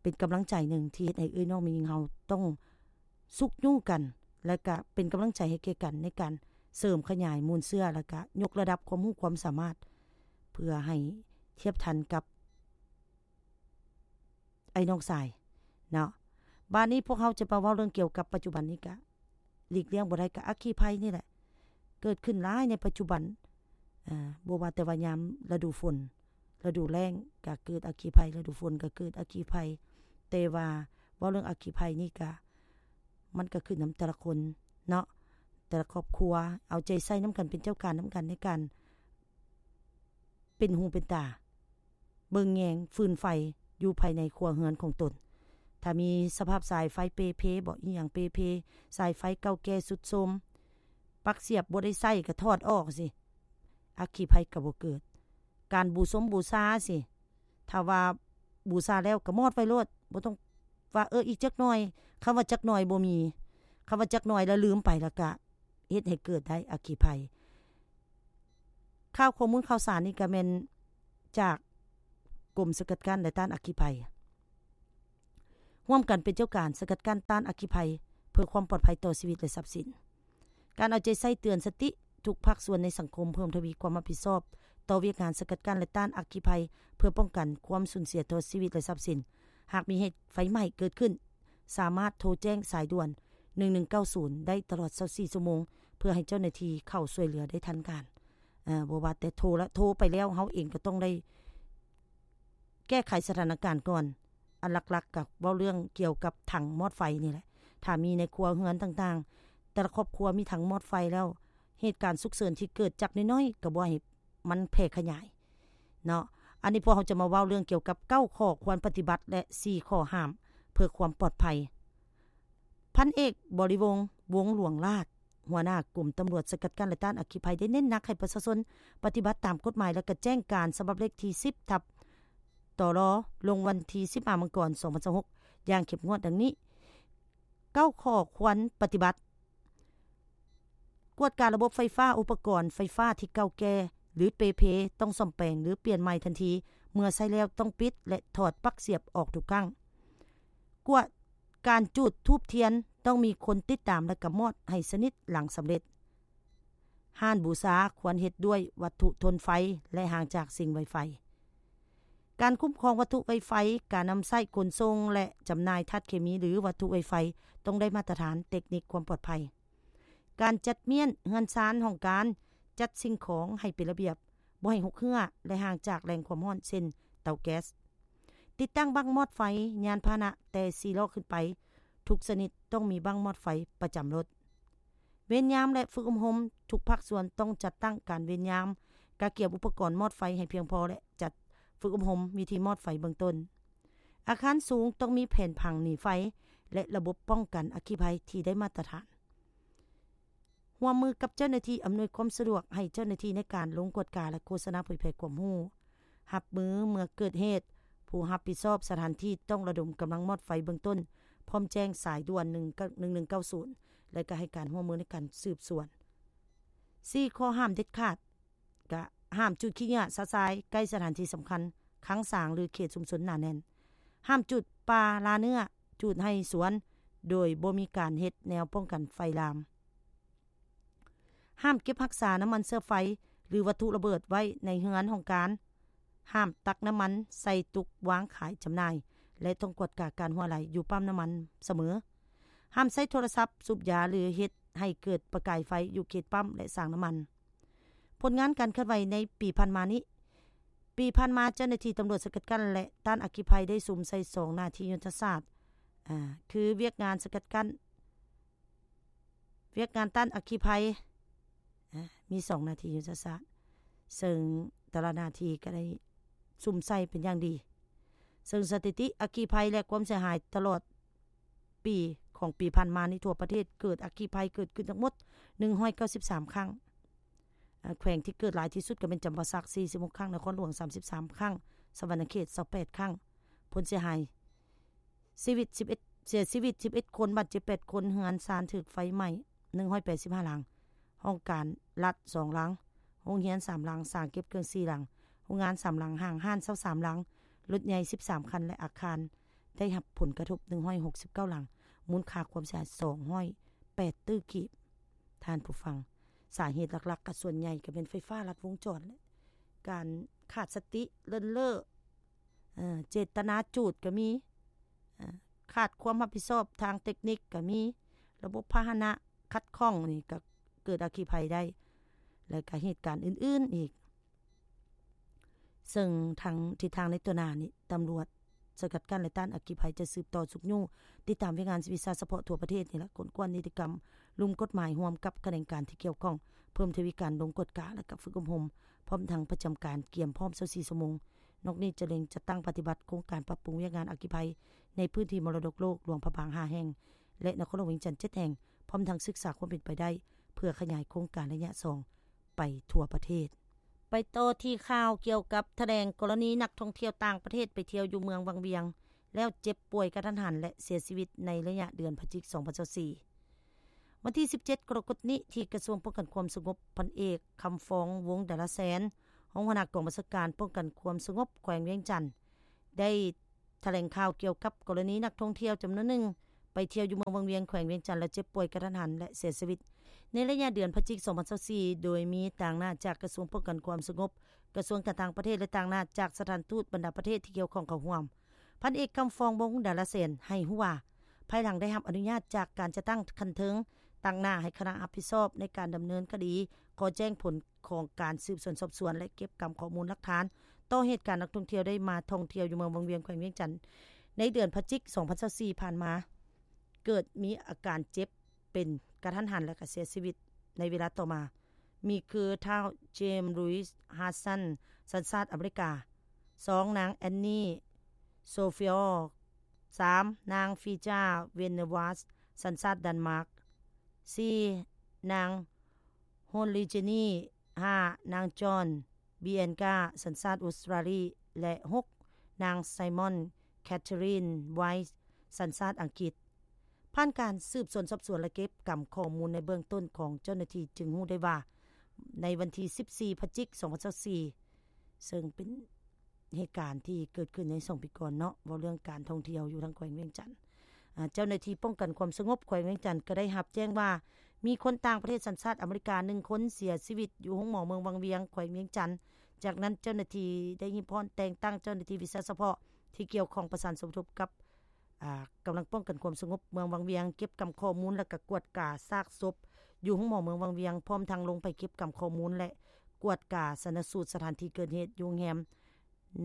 ເປັນກຳລັງໃຈໜຶ່ງທີ່ເຮັດໃຫ້ເອື້ອຍນ້ອງແມ່ຍິງເຮົາຕ້ອງຊຸກຍູ້ກັນ ແລະ ກະເປັນກຳລັງໃຈໃຫ້ແກ່ກັນໃນການເສີມຂະຫຍາຍມູນເຊື້ອ ແລະ ກະຍົກລະດັບຄວາມຮູ້ຄວາມສາມາດ ເພື່ອໃຫ້ທຽບທັນກັບອ້າຍນ້ອງຊາຍເນາະ. ບາດນີ້ພວກເຮົາຈະມາເວົ້າເລື່ອງກ່ຽວກັບປັດຈຸບັນນີ້ ກະຫຼີກລ່ຽງບໍ່ໄດ້ ກະອັກຄີໄພນີ້ແຫຼະ ເກີດຂຶ້ນຫຼາຍໃນປັດຈຸບັນ. ເອີ ບໍ່ວ່າແຕ່ວ່າຍາມລະດູຝົນ ລະດູແລ້ງກະເກີດອັກຄີໄພ, ລະດູຝົນກະເກີດອັກຄີໄພ. ແຕ່ວ່າເວົ້າເລື່ອງອັກຄີໄພນີ້ກະ ມັນກໍຂຶ້ນນຳແຕ່ລະຄົນເນາະ, ແຕ່ລະຄອບຄົວ ເອົາໃຈໃສ່ນຳກັນ ເປັນເຈົ້າການນຳກັນໃນການເປັນຫູເປັນຕາ ເບິ່ງແຍງຟືນໄຟຢູ່ພາຍໃນຄົວເຮືອນຂອງຕົນ. ຖ້າມີສະພາບສາຍໄຟເປ່ເພບໍ ອີ່ຫຍັງເປ່ເພ, ສາຍໄຟເກົ່າແກ່ຊຸດໂຊມ, ປັກສຽບບໍ່ໄດ້ໃຊ້ກໍຖອດອອກຊິ ອັກຄີໄພກໍບໍ່ເກີດ. ການບູຊົມບູຊາຊິ ຖ້າວ່າບູຊາແລ້ວກໍມອດໄວ້ໂລດ, ບໍ່ຕ້ອງວ່າ ເອີ ອີກຈັກໜ່ອຍ. ຄຳວ່າຈັກໜ່ອຍບໍ່ມີ, ຄຳວ່າຈັກໜ່ອຍແລ້ວລືມໄປ ແລ້ວກະເຮັດໃຫ້ເກີດໄດ້ອັກຄີໄພ. ຂ່າວຂໍ້ມູນຂ່າວສານນີ້ກໍແມ່ນຈາກກົມສະກັດກັ້ນ ແລະ ຕ້ານອັກຄີໄພ ຮ່ວມກັນເປັນເຈົ້າການສະກັດກັ້ນຕ້ານອັກຄີໄພ ເພື່ອຄວາມປອດໄພຕໍ່ຊີວິດ ແລະ ຊັບສິນ. ການເອົາໃຈໃສ່ເຕືອນສະຕິທຸກພາກສ່ວນໃນສັງຄົມ ເພີ່ມທະວີຄວາມຮັບຜິດຊອບຕໍ່ວຽກງານສະກັດກັ້ນ ແລະ ຕ້ານອັກຄີໄພ ເພື່ອປ້ອງກັນຄວາມສູນເສຍຕໍ່ຊີວິດ ແລະ ຊັບສິນ. ຫາກມີເຫດໄຟໄໝ້ເກີດຂຶ້ນ, ສາມາດໂທແຈ້ງສາຍດ່ວນ ໜຶ່ງໜຶ່ງເກົ້າສູນ ໄດ້ຕະຫຼອດຊາວສີ່ຊົ່ວໂມງ ເພື່ອໃຫ້ເຈົ້າໜ້າທີ່ເຂົ້າຊ່ວຍເຫຼືອໄດ້ທັນການ. ເອີ ບໍ່ວ່າແຕ່ໂທລະ ໂທໄປແລ້ວ ເຮົາເອງກໍຕ້ອງໄດ້ແກ້ໄຂສະຖານະການກ່ອນ. ອັນຫຼັກໆກໍເວົ້າເລື່ອງກ່ຽວກັບຖັງມອດໄຟນີ້ແຫຼະ. ຖ້າມີໃນຄົວເຮືອນຕ່າງໆ, ແຕ່ລະຄອບຄົວມີຖັງມອດໄຟແລ້ວ, ເຫດການສຸກເສີນທີ່ເກີດຈາກນ້ອຍໆ ກໍບໍ່ໃຫ້ມັນແຜ່ຂະຫຍາຍເນາະ. ອັນນີ້ພວກເຮົາຈະມາເວົ້າເລື່ອງກ່ຽວກັບເກົ້າຂໍ້ຄວນປະຕິບັດ ແລະ ສີ່ຂໍ້ຫ້າມ ເພື່ອຄວາມປອດໄພ. ພັນເອກ ບໍລິວົງ ວົງຫຼວງລາດ ຫົວໜ້າກົມຕຳຫຼວດສະກັດກັ້ນ ແລະ ຕ້ານອັກຄີໄພ ໄດ້ເນັ້ນໜັກໃຫ້ປະຊາຊົນປະຕິບັດຕາມກົດໝາຍ ແລະ ກະແຈ້ງການສະບັບເລກທີສິບ ທັບ ຕລ ລົງວັນທີສິບຫ້າ ມັງກອນ ສອງພັນຊາວຫົກ ຢ່າງເຂັ້ມງວດ ດັ່ງນີ້. ເກົ້າຂໍ້ຄວນປະຕິບັດ. ກວດກາລະບົບໄຟຟ້າ, ອຸປະກອນໄຟຟ້າທີ່ເກົ່າແກ່ ຫຼື ເປ່ເພ ຕ້ອງສ້ອມແປງ ຫຼື ປ່ຽນໃໝ່ທັນທີ. ເມື່ອໃຊ້ແລ້ວຕ້ອງປິດ ແລະ ຖອດປັກສຽບອອກທຸກຄັ້ງ. ກວດການຈູດທູບທຽນ, ຕ້ອງມີຄົນຕິດຕາມ ແລະ ກຳມອດໃຫ້ສະໜິດຫຼັງສຳເລັດ. ຮ້ານບູຊາຄວນເຮັດດ້ວຍວັດຖຸທົນໄຟ ແລະ ຫ່າງຈາກສິ່ງໄວໄຟ. ການຄຸ້ມຄອງວັດຖຸໄວໄຟ, ການນຳໃຊ້, ຂົນສົ່ງ ແລະ ຈຳໜ່າຍທາດເຄມີ ຫຼື ວັດຖຸໄວໄຟ ຕ້ອງໄດ້ມາດຕະຖານເຕັກນິກຄວາມປອດໄພ. ການຈັດມ້ຽນເຮືອນຊານຫ້ອງການ, ຈັດສິ່ງຂອງໃຫ້ເປັນລະບຽບ, ບໍ່ໃຫ້ຮົກເຮື້ອ ແລະ ຫ່າງຈາກແຫຼ່ງຄວາມຮ້ອນ ເຊັ່ນ ເຕົາແກັສ. ຕິດຕັ້ງບັ້ງມອດໄຟ, ຍານພາຫະນະແຕ່ສີ່ລໍ້ຂຶ້ນໄປ ທຸກຊະນິດຕ້ອງມີບັ້ງມອດໄຟປະຈຳລົດ. ເວນຍາມ ແລະ ຝຶກອົບຮົມ, ທຸກພາກສ່ວນຕ້ອງຈັດຕັ້ງການເວນຍາມ, ກະກຽມອຸປະກອນມອດໄຟໃຫ້ພຽງພໍ ແລະ ຈັດຝຶກອົບຮົມວິທີມອດໄຟເບື້ອງຕົ້ນ. ອາຄານສູງຕ້ອງມີແຜນຜັງໜີໄຟ ແລະ ລະບົບປ້ອງກັນອັກຄີໄພທີ່ໄດ້ມາດຕະຖານ. ຮ່ວມມືກັບເຈົ້າໜ້າທີ່ອຳນວຍຄວາມສະດວກໃຫ້ເຈົ້າໜ້າທີ່ໃນການລົງກວດກາ ແລະ ໂຄສະນາເຜີຍແຜ່ຄວາມຮູ້. ຮັບມືເມື່ອເກີດເຫດ, ຜູ້ຮັບຜິດຊອບສະຖານທີ່ຕ້ອງລະດົມກຳລັງມອດໄຟເບື້ອງຕົ້ນ ພ້ອມແຈ້ງສາຍດ່ວນ ໜຶ່ງ ໜຶ່ງໜຶ່ງເກົ້າສູນ ແລະ ກໍໃຫ້ການຮ່ວມມືໃນການສືບສວນ. ສີ່ ຂໍ້ຫ້າມເດັດຂາດ ກະຫ້າມຈູດຂີ້ເຫຍື້ອຊະຊາຍໃກ້ສະຖານທີ່ສຳຄັນ, ຄັງສາງ ຫຼື ເຂດຊຸມຊົນໜາແໜ້ນ. ຫ້າມຈູດປ່າລ່າເນື້ອ, ຈູດໄຮ່ສວນ ໂດຍບໍ່ມີການເຮັດແນວປ້ອງກັນໄຟລາມ. ຫ້າມເກັບຮັກສານ້ຳມັນເຊື້ອໄຟ ຫຼື ວັດຖຸລະເບີດໄວ້ໃນເຮືອນຫ້ອງການ. ຫ້າມຕັກນ້ຳມັນໃສ່ຕຸກວາງຂາຍຈຳໜ່າຍ ແລະ ຕ້ອງກວດກາການຮົ່ວໄຫຼຢູ່ປ້ຳນ້ຳມັນສະເໝີ. ຫ້າມໃຊ້ໂທລະສັບ, ສູບຢາ ຫຼື ເຮັດໃຫ້ເກີດປະກາຍໄຟຢູ່ເຂດປ້ຳ ແລະ ສາງນ້ຳມັນ. ຜົນງານການເຄື່ອນໄຫວໃນປີຜ່ານມານີ້. ປີຜ່ານມາ, ເຈົ້າໜ້າທີ່ຕຳຫຼວດສະກັດກັ້ນ ແລະ ຕ້ານອັກຄີໄພ ໄດ້ສຸມໃສ່ສອງໜ້າທີ່ຍຸດທະສາດ, ອາ, ຄືວຽກງານສະກັດກັ້ນ, ວຽກງານຕ້ານອັກຄີໄພ, ອາ, ມີສອງໜ້າທີ່ຍຸດທະສາດ, ເຊິ່ງແຕ່ລະໜ້າທີ່ກໍໄດ້ສຸມໃສ່ເປັນຢ່າງດີ. ເຊິ່ງສະຖິຕິອັກຄີໄພ ແລະ ຄວາມເສຍຫາຍຕະຫຼອດ ປີຂອງປີຜ່ານມານີ້ ທົ່ວປະເທດເກີດອັກຄີໄພເກີດຂຶ້ນທັງໝົດ ໜຶ່ງຮ້ອຍເກົ້າສິບສາມ ຄັ້ງ. ແຂວງທີ່ເກີດຫຼາຍທີ່ສຸດກໍແມ່ນຈຳປາສັກ ສີ່ສິບຫົກ ຄັ້ງ, ນະຄອນຫຼວງ ສາມສິບສາມ ຄັ້ງ, ສະຫວັນນະເຂດ ຊາວແປດ ຄັ້ງ. ຜົນເສຍຫາຍ ຊີວິດ ສິບເອັດ ເສຍຊີວິດ ສິບເອັດ ຄົນ, ບາດເຈັບ ແປດ ຄົນ, ເຮືອນຊານຖືກໄຟໄໝ້ ໜຶ່ງຮ້ອຍແປດສິບຫ້າ ຫຼັງ, ຫ້ອງການລັດ ສອງ ຫຼັງ, ໂຮງຮຽນ ສາມ ຫຼັງ, ສາງເກັບເຄື່ອງ ສີ່ ຫຼັງ, ໂຮງງານ ສາມ ຫຼັງ, ຫ້າງຮ້ານ ຊາວສາມ ຫຼັງ, ລົດໃຫຍ່ ສິບສາມ ຄັນ ແລະ ອາຄານ ໄດ້ຮັບຜົນກະທົບ ໜຶ່ງຮ້ອຍຫົກສິບເກົ້າ ຫຼັງ, ມູນຄ່າຄວາມເສຍຫາຍ ສອງຮ້ອຍແປດຕື້ກີບ. ທ່ານຜູ້ຟັງ, ສາເຫດຫຼັກໆ ກໍສ່ວນໃຫຍ່ກໍແມ່ນໄຟຟ້າລັດວົງຈອນ ແລະ ການຂາດສະຕິ ເລີນເລີ້, ເອີ, ເຈດຕະນາຈູດກໍມີ, ເອີ, ຂາດຄວາມຮັບຜິດຊອບທາງເຕັກນິກກໍມີ, ລະບົບພາຫະນະຂັດຂ້ອງນີ້ກໍເກີດອັກຄີໄພໄດ້ ແລະ ກໍເຫດການອື່ນໆອີກ. ເຊິ່ງທາງ ທິດທາງໃນຕໍ່ໜ້ານີ້ ຕຳຫຼວດ ສະກັດກັ້ນ ແລະ ຕ້ານອັກຄີໄພ ຈະສືບຕໍ່ຊຸກຍູ້ຕິດຕາມວຽກງານວິຊາສະເພາະທົ່ວປະເທດນີ້ແຫຼະ, ກວດການິຕິກຳລຸ່ມກົດໝາຍຮ່ວມກັບຂະແໜງການທີ່ກ່ຽວຂ້ອງ, ເພີ່ມທະວີການລົງກວດກາ ແລະ ກະຝຶກອົບຮົມ, ພ້ອມທັງປະຈຳການກຽມພ້ອມຊາວສີ່ຊົ່ວໂມງ. ນອກນີ້ຈະເລັ່ງຈັດຕັ້ງປະຕິບັດໂຄງການປັບປຸງວຽກງານອັກຄີໄພໃນພື້ນທີ່ມໍລະດົກໂລກ ຫຼວງພະບາງຫ້າແຫ່ງ ແລະ ນະຄອນຫຼວງວຽງຈັນເຈັດແຫ່ງ, ພ້ອມທັງສຶກສາຄວາມເປັນໄປໄດ້ ເພື່ອຂະຫຍາຍໂຄງການໄລຍະສອງ ໄປທົ່ວປະເທດ. ໄປຕໍ່ທີ່ຂ່າວກ່ຽວກັບຖະແຫຼງກໍລະນີນັກທ່ອງທ່ຽວຕ່າງປະເທດໄປທ່ຽວຢູ່ເມືອງວັງວຽງ ແລ້ວເຈັບປ່ວຍກະທັນຫັນ ແລະ ເສຍຊີວິດໃນໄລຍະເດືອນພະຈິກ ສອງພັນຊາວສີ່. ວັນທີສິບເຈັດ ກໍລະກົດນີ້ ທີ່ກະຊວງປ້ອງກັນຄວາມສະຫງົບ ພັນເອກ ຄຳຟອງ ວົງດາລາແສນ ຮອງຫົວໜ້າກອງບັນຊາການປ້ອງກັນຄວາມສະຫງົບແຂວງວຽງຈັນ ໄດ້ຖະແຫຼງຂ່າວກ່ຽວກັບກໍລະນີນັກທ່ອງທ່ຽວຈຳນວນໜຶ່ງ ໄປທ່ຽວຢູ່ເມືອງວັງວຽງ ແຂວງວຽງຈັນ ແລ້ວເຈັບປ່ວຍກະທັນຫັນ ແລະ ເສຍຊີວິດ ໃນໄລຍະເດືອນພະຈິກ ສອງພັນຊາວສີ່ ໂດຍມີຕາງໜ້າຈາກກະຊວງປ້ອງກັນຄວາມສະຫງົບ, ກະຊວງການຕ່າງປະເທດ ແລະ ຕາງໜ້າຈາກສະຖານທູດບັນດາປະເທດທີ່ກ່ຽວຂ້ອງເຂົ້າຮ່ວມ. ພັນເອກ ຄຳຟອງ ວົງດາລາແສນ ໃຫ້ຮູ້ວ່າ ພາຍຫຼັງໄດ້ຮັບອະນຸຍາດຈາກການຈັດຕັ້ງຂັ້ນເທິງ, ຕາງໜ້າໃຫ້ຄະນະຮັບຜິດຊອບໃນການດຳເນີນຄະດີ ຂໍແຈ້ງຜົນຂອງການສືບສວນສອບສວນ ແລະ ເກັບກຳຂໍ້ມູນຫຼັກຖານ ຕໍ່ເຫດການນັກທ່ອງທ່ຽວໄດ້ມາທ່ອງທ່ຽວຢູ່ເມືອງວັງວຽງ ແຂວງວຽງຈັນ ໃນເດືອນພະຈິກ ສອງພັນຊາວສີ່ ຜ່ານມາ ເກີດມີອາການເຈັບເປັນກະທັນຫັນ ແລະ ກະເສຍຊີວິດໃນເວລາຕໍ່ມາ ມີຄື ທ້າວ ເຈມ ລຸຍສ໌ ຮາຊັນ ສັນຊາດອາເມລິກາ, ສອງ ນາງ ແອນນີ ໂຊຟີອລ, ສາມ ນາງ ຟີຈາ ເວນເນີວັດ ສັນຊາດດັນມາກ, ສີ່ ນາງ ໂຮນລີ ເຈນີ, ຫ້າ ນາງ ຈອນ ບີແອນກາ ສັນຊາດອົດສະຕຣາລີ ແລະ ຫົກ ນາງ ໄຊມອນ ແຄທເທີຣິນ ໄວສ໌ ສັນຊາດອັງກິດ. ຜ່ານການສືບສວນສອບສວນ ແລະ ເກັບກຳຂໍ້ມູນໃນເບື້ອງຕົ້ນຂອງເຈົ້າໜ້າທີ່ ຈຶ່ງຮູ້ໄດ້ວ່າ ໃນວັນທີສິບສີ່ ພະຈິກ ສອງພັນຊາວສີ່ ເຊິ່ງເປັນ ເຫດການທີ່ເກີດຂຶ້ນໃນສອງປີກ່ອນເນາະ, ເວົ້າເລື່ອງການທ່ອງທ່ຽວຢູ່ທາງແຂວງວຽງຈັນ. ອາ, ເຈົ້າໜ້າທີ່ປ້ອງກັນຄວາມສະຫງົບແຂວງວຽງຈັນກໍໄດ້ຮັບແຈ້ງວ່າ ມີຄົນຕ່າງປະເທດສັນຊາດອາເມລິກາໜຶ່ງຄົນເສຍຊີວິດຢູ່ໂຮງໝໍເມືອງວັງວຽງ ແຂວງວຽງຈັນ. ຈາກນັ້ນເຈົ້າໜ້າທີ່ໄດ້ຮີບຮ້ອນແຕ່ງຕັ້ງເຈົ້າໜ້າທີ່ວິຊາສະເພາະທີ່ກ່ຽວຂ້ອງປະສານສົມທົບກັບ ອາ, ກຳລັງປ້ອງກັນຄວາມສະຫງົບເມືອງວັງວຽງ ເກັບກຳຂໍ້ມູນ ແລະ ກະກວດກາຊາກສົບຢູ່ໂຮງໝໍເມືອງວັງວຽງ, ພ້ອມທັງລົງໄປເກັບກຳຂໍ້ມູນ ແລະ ກວດກາຊັນນະສູດສະຖານທີ່ເກີດເຫດຢູ່ໂຮງແຮມ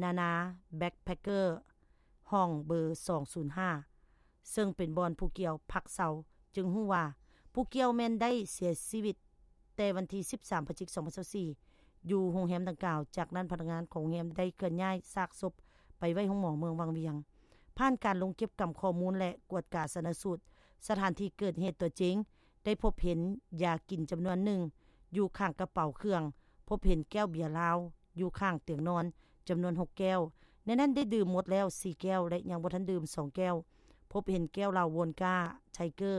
ນານາ ແບັກແພັກເກີ ຫ້ອງເບີສອງສູນຫ້າ ເຊິ່ງເປັນບ່ອນຜູ້ກ່ຽວພັກເຊົາ, ຈຶ່ງຮູ້ວ່າຜູ້ກ່ຽວແມ່ນໄດ້ເສຍຊີວິດແຕ່ວັນທີສິບສາມ ພະຈິກ ສອງພັນຊາວສີ່ ຢູ່ໂຮງແຮມດັ່ງກ່າວ. ຈາກນັ້ນພະນັກງານຂອງໂຮງແຮມໄດ້ເຄື່ອນຍ້າຍຊາກສົບໄປໄວ້ໂຮງໝໍເມືອງວັງວຽງ. ຜ່ານການລົງເກັບກຳຂໍ້ມູນ ແລະ ກວດກາຊັນນະສູດສະຖານທີ່ເກີດເຫດຕົວຈິງ, ໄດ້ພົບເຫັນຢາກິນຈຳນວນໜຶ່ງຢູ່ຂ້າງກະເປົາເຄື່ອງ, ພົບເຫັນແກ້ວເບຍລາວຢູ່ຂ້າງຕຽງນອນຈຳນວນຫົກແກ້ວ, ໃນນັ້ນໄດ້ດື່ມໝົດແລ້ວສີ່ແກ້ວ ແລະ ຍັງບໍ່ທັນດື່ມສອງແກ້ວ, ພົບເຫັນແກ້ວເຫຼົ້າໂວນກາ ໄທເກີ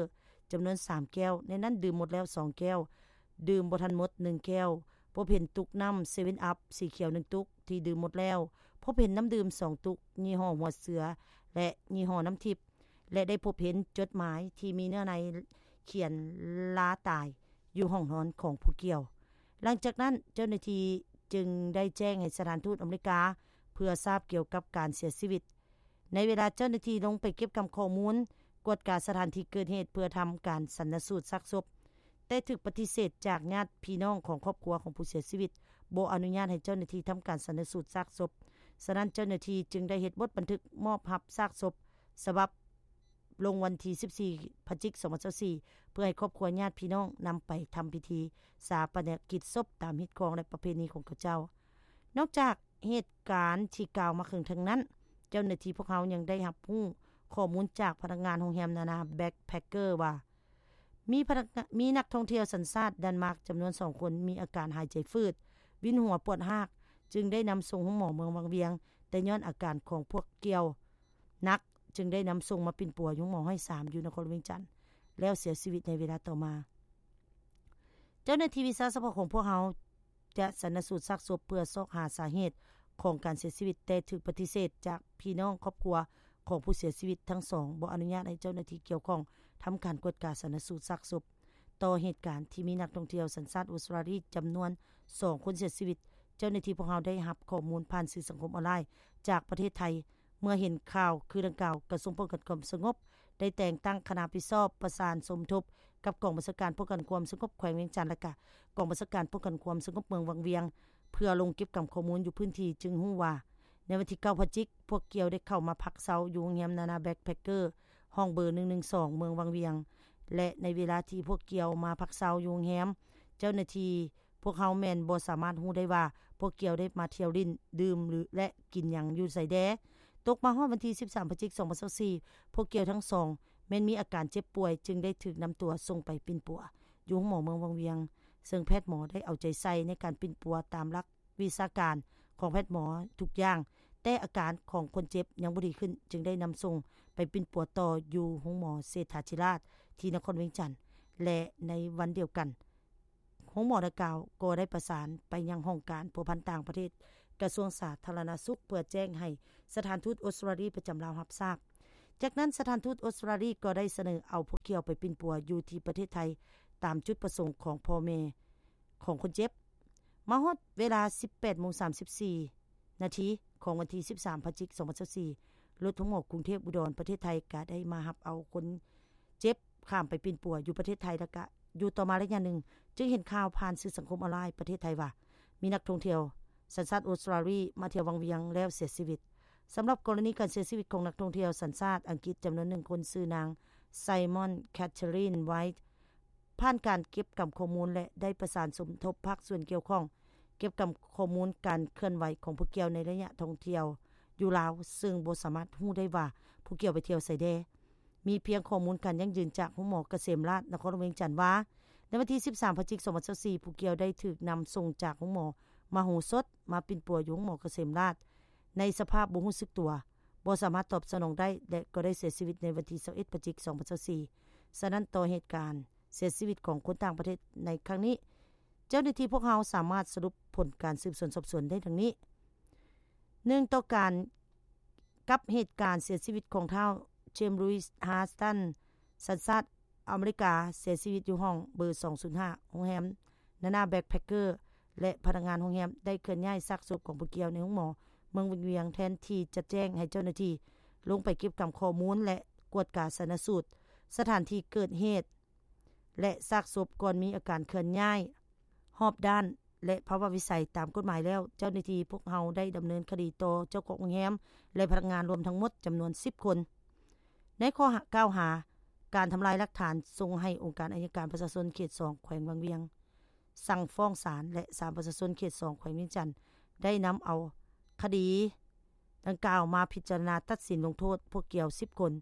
ຈຳນວນສາມແກ້ວ, ໃນນັ້ນດື່ມໝົດແລ້ວສອງແກ້ວ, ດື່ມບໍ່ທັນໝົດໜຶ່ງແກ້ວ, ພົບເຫັນຕຸກນ້ຳເຊເວັນອັບສີຂຽວໜຶ່ງຕຸກທີ່ດື່ມໝົດແລ້ວ, ພົບເຫັນນ້ຳດື່ມສອງຕຸກ ຍີ່ຫໍ້ຫົວເສືອ ແລະ ຍີ່ຫໍ້ນ້ຳທິບ ແລະ ໄດ້ພົບເຫັນຈົດໝາຍທີ່ມີເນື້ອໃນຂຽນລາຕາຍຢູ່ຫ້ອງນອນຂອງຜູ້ກ່ຽວ. ຫຼັງຈາກນັ້ນເຈົ້າໜ້າທີ່ຈຶ່ງໄດ້ແຈ້ງໃຫ້ສະຖານທູດອາເມລິກາເພື່ອຊາບກ່ຽວກັບການເສຍຊີວິດ. ໃນເວລາເຈົ້າໜ້າທີ່ລົງໄປເກັບກຳຂໍ້ມູນ, ກວດກາສະຖານທີ່ເກີດເຫດເພື່ອທຳການຊັນນະສູດຊາກສົບ, ແຕ່ຖືກປະຕິເສດຈາກຍາດພີ່ນ້ອງຂອງຄອບຄົວຂອງຜູ້ເສຍຊີວິດ, ບໍ່ອະນຸຍາດໃຫ້ເຈົ້າໜ້າທີ່ທຳການຊັນນະສູດຊາກສົບ. ສະນັ້ນເຈົ້າໜ້າທີ່ຈຶ່ງໄດ້ເຮັດບົດບັນທຶກມອບຮັບຊາກສົບສະບັບ ລົງວັນທີສິບສີ່ ພະຈິກ ສອງພັນຊາວສີ່ ເພື່ອໃຫ້ຄອບຄົວຍາດພີ່ນ້ອງນຳໄປທຳພິທີຊາປະນະກິດສົບຕາມຮີດຄອງ ແລະ ປະເພນີຂອງເຂົາເຈົ້າ. ນອກຈາກເຫດການທີ່ກ່າວມາເຄິ່ງເທິງນັ້ນ, ເຈົ້າໜ້າທີ່ພວກເຮົາຍັງໄດ້ຮັບຮູ້ຂໍ້ມູນຈາກພະນັກງານໂຮງແຮມນານາແບັກແພັກເກີວ່າ ມີພະນັກງານ ມີນັກທ່ອງທ່ຽວສັນຊາດດັນມາກຈຳນວນສອງຄົນມີອາການຫາຍໃຈຝືດ, ວິນຫົວ, ປວດຮາກ, ຈຶ່ງໄດ້ນຳສົ່ງໂຮງໝໍເມືອງວັງວຽງ, ແຕ່ຍ້ອນອາການຂອງພວກກ່ຽວໜັກ, ຈຶ່ງໄດ້ນຳສົ່ງມາປິ່ນປົວຢູ່ໂຮງໝໍຮ້ອຍສາມ ຢູ່ນະຄອນຫຼວງວຽງຈັນ ແລ້ວເສຍຊີວິດໃນເວລາຕໍ່ມາ. ເຈົ້າໜ້າທີ່ວິຊາສະເພາະຂອງພວກເຮົາຈະຊັນນະສູດຊາກສົບເພື່ອຊອກຫາສາເຫດຂອງການເສຍຊີວິດ, ແຕ່ຖືກປະຕິເສດຈາກພີ່ນ້ອງຄອບຄົວຂອງຜູ້ເສຍຊີວິດທັງສອງ, ບໍ່ອະນຸຍາດໃຫ້ເຈົ້າໜ້າທີ່ກ່ຽວຂ້ອງທຳການກວດກາຊັນນະສູດຊາກສົບ. ຕໍ່ເຫດການທີ່ມີນັກທ່ອງທ່ຽວສັນຊາດອົດສະຕຣາລີຈຳນວນສອງຄົນເສຍຊີວິດ, ເຈົ້າໜ້າທີ່ພວກເຮົາໄດ້ຮັບຂໍ້ມູນຜ່ານສື່ສັງຄົມອອນລາຍຈາກປະເທດໄທ. ເມື່ອເຫັນຂ່າວຄືດັ່ງກ່າວ, ກະຊວງປ້ອງກັນຄວາມສະຫງົບໄດ້ແຕ່ງຕັ້ງຄະນະຮັບຜິດຊອບປະສານສົມທົບກັບກອງບັນຊາການປ້ອງກັນຄວາມສະຫງົບແຂວງວຽງຈັນ ແລະ ກະກອງບັນຊາການປ້ອງກັນຄວາມສະຫງົບເມືອງວັງວຽງ ເພື່ອລົງເກັບກຳຂໍ້ມູນຢູ່ພື້ນທີ່, ຈຶ່ງຮູ້ວ່າ ໃນວັນທີເກົ້າພະຈິກ, ພວກກ່ຽວໄດ້ເຂົ້າມາພັກເຊົາຢູ່ໂຮງແຮມນານາແບັກແພັກເກີ ຫ້ອງເບີໜຶ່ງໜຶ່ງສອງ ເມືອງວັງວຽງ ແລະ ໃນເວລາທີ່ພວກກ່ຽວມາພັກເຊົາຢູ່ໂຮງແຮມ, ເຈົ້າໜ້າທີ່ພວກເຮົາແມ່ນບໍ່ສາມາດຮູ້ໄດ້ວ່າ ພວກກ່ຽວໄດ້ມາທ່ຽວຫຼິ້ນ, ດື່ມ ຫຼື ແລະ ກິນຫຍັງຢູ່ໃສແດ່. ຕົກມາຮອດວັນທີສິບສາມພະຈິກ ສອງພັນຊາວສີ່ ພວກກ່ຽວທັງສອງແມ່ນມີອາການເຈັບປ່ວຍ, ຈຶ່ງໄດ້ຖືກນຳຕົວສົ່ງໄປປິ່ນປົວຢູ່ໂຮງໝໍເມືອງວັງວຽງ, ເຊິ່ງແພດໝໍໄດ້ເອົາໃຈໃສ່ໃນການປິ່ນປົວຕາມຫຼັກ ວິຊາການຂອງແພດໝໍທຸກຢ່າງ, ແຕ່ອາການຂອງຄົນເຈັບຍັງບໍ່ດີຂຶ້ນ, ຈຶ່ງໄດ້ນຳສົ່ງໄປປິ່ນປົວຕໍ່ຢູ່ໂຮງໝໍເສດຖາທິລາດທີ່ນະຄອນວຽງຈັນ ແລະ ໃນວັນດຽວກັນ, ໂຮງໝໍດັ່ງກ່າວກໍໄດ້ປະສານໄປຍັງຫ້ອງການພົວພັນຕ່າງປະເທດ ກະຊວງສາທາລະນະສຸກ ເພື່ອແຈ້ງໃຫ້ສະຖານທູດອົດສະຕຣາລີປະຈຳລາວຮັບຊາບ. ຈາກນັ້ນ, ສະຖານທູດອົດສະຕຣາລີກໍໄດ້ສະເໜີເອົາພວກກ່ຽວໄປປິ່ນປົວຢູ່ທີ່ປະເທດໄທ ຕາມຈຸດປະສົງຂອງພໍ່ແມ່ ຂອງຄົນເຈັບ. ມາຮອດເວລາສິບແປດໂມງສາມສິບສີ່ນາທີຂອງວັນທີສິບສາມພະຈິກ ສອງພັນຊາວສີ່ ລົດໂຮງໝໍກຸງເທບອຸດອນ ປະເທດໄທກະໄດ້ມາຮັບເອົາຄົນເຈັບຂ້າມໄປປິ່ນປົວຢູ່ປະເທດໄທ ແລະ ກະຢູ່ຕໍ່ມາໄລຍະໜຶ່ງ ຈຶ່ງເຫັນຂ່າວຜ່ານສື່ສັງຄົມອອນລາຍປະເທດໄທວ່າ ມີນັກທ່ອງທ່ຽວສັນຊາດອົດສະຕຣາລີມາທ່ຽວວັງວຽງແລ້ວເສຍຊີວິດ. ສຳລັບກໍລະນີການເສຍຊີວິດຂອງນັກທ່ອງທ່ຽວສັນຊາດອັງກິດຈຳນວນໜຶ່ງຄົນ ຊື່ນາງ ໄຊມອນ ແຄທເທີຣິນ ໄວ ຜ່ານການເກັບກຳຂໍ້ມູນ ແລະ ໄດ້ປະສານສົມທົບພາກສ່ວນກ່ຽວຂ້ອງ ເກັບກຳຂໍ້ມູນການເຄື່ອນໄຫວຂອງຜູ້ກ່ຽວໃນໄລຍະທ່ອງທ່ຽວຢູ່ລາວ, ເຊິ່ງບໍ່ສາມາດຮູ້ໄດ້ວ່າຜູ້ກ່ຽວໄປທ່ຽວໃສແດ່. ມີພຽງຂໍ້ມູນການຢັ້ງຢືນຈາກໂຮງໝໍກະເສມລາດ ນະຄອນຫຼວງວຽງຈັນວ່າ ໃນວັນທີສິບສາມພະຈິກ ສອງພັນຊາວສີ່ ຜູ້ກ່ຽວໄດ້ຖືກນຳສົ່ງຈາກໂຮງໝໍມະໂຫສົດ ມາປິ່ນປົວຢູ່ໂຮງໝໍກະເສມລາດ ໃນສະພາບບໍ່ຮູ້ສຶກຕົວ, ບໍ່ສາມາດຕອບສະໜອງໄດ້ ແລະ ກໍໄດ້ເສຍຊີວິດໃນວັນທີຊາວເອັດພະຈິກ ສອງພັນຊາວສີ່. ສະນັ້ນ, ຕໍ່ເຫດການເສຍຊີວິດຂອງຄົນຕ່າງປະເທດໃນຄັ້ງນີ້, ເຈົ້າໜ້າທີ່ພວກເຮົາສາມາດສະຫຼຸບຜົນການສືບສວນສອບສວນໄດ້ດັ່ງນີ້: ໜຶ່ງ, ຕໍ່ການ ກັບເຫດການເສຍຊີວິດຂອງທ້າວ ເຈມ ລຸຍສ໌ ຮາສຕັນ ສັນຊາດອາເມລິກາ ເສຍຊີວິດຢູ່ຫ້ອງເບີສອງສູນຫ້າ ໂຮງແຮມນານາແບັກແພັກເກີ ແລະ ພະນັກງານໂຮງແຮມໄດ້ເຄື່ອນຍ້າຍຊາກສົບຂອງຜູ້ກ່ຽວໃນໂຮງໝໍເມືອງວັງວຽງ ແທນທີ່ຈະແຈ້ງໃຫ້ເຈົ້າໜ້າທີ່ລົງໄປເກັບກຳຂໍ້ມູນ ແລະ ກວດກາຊັນນະສູດສະຖານທີ່ເກີດເຫດ ແລະ ຊາກສົບກ່ອນມີອາການເຄື່ອນຍ້າຍຮອບດ້ານ ແລະ ພາວະວິໄສຕາມກົດໝາຍແລ້ວ, ເຈົ້າໜ້າທີ່ພວກເຮົາໄດ້ດຳເນີນຄະດີຕໍ່ເຈົ້າຂອງໂຮງແຮມ ແລະ ພະນັກງານລວມທັງໝົດຈຳນວນສິບຄົນ ໃນຂໍ້ຫາ ກ່າວຫາການທຳລາຍຫຼັກຖານ ສົ່ງໃຫ້ອົງການໄອຍະການປະຊາຊົນເຂດສອງ ແຂວງວັງວຽງ ສັ່ງຟ້ອງສານ ແລະ ສານປະຊາຊົນເຂດສອງ ແຂວງວຽງຈັນ ໄດ້ນຳເອົາຄະດີດັ່ງກ່າວມາພິຈາລະນາຕັດສິນລົງໂທດພວກກ່ຽວສິບຄົນ